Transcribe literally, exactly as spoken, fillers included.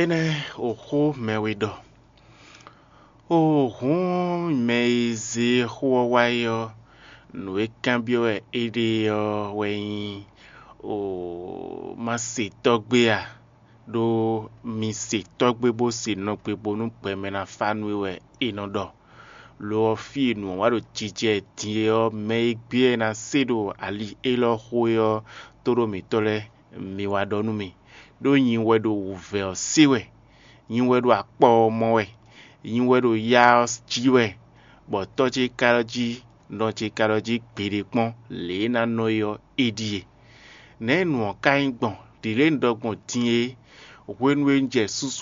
Énɛ́ oxó mɛ we ɖɔ. O hǔn mɛ e zé xó ɔ́ wá é ɔ́, nǔ e kanbyɔ́ wɛ é ɖe ɔ́ wɛ nyí: O ma se tɔ́gbé a? Ɖó mi se tɔ́gbé bó se nɔgbé bónú gbɛmɛ ná fá nú we wɛ è nɔ ɖɔ. Lo ɔ́, fí e nǔ ɔ́ wá ɖo jijɛ din é ɔ́, mɛ e gbé ɛ ná se ɖo ali élɔ́ xo é ɔ́, tóɖó mǐtɔn lɛ́ɛ, mi wá ɖɔ nú mì, ɖó nyi wɛ ɖo wǔvɛ́ ɔ́ se wɛ, nyi wɛ ɖo akpɔ ɔ́ mɔ wɛ, nyi wɛ ɖo ya ɔ́ jí wɛ, bɔ tɔ́ ce ka ɖɔ jí, nɔ ce ka ɖɔ jí gbeɖé kpɔ́n lě e é ná nɔ é ɔ́, é ɖíe. Nɛ̌ nǔ ɔ́ ka nyí gbɔn? Ɖǐ lě un ɖɔ gbɔn din é, hwenu e un jɛ susu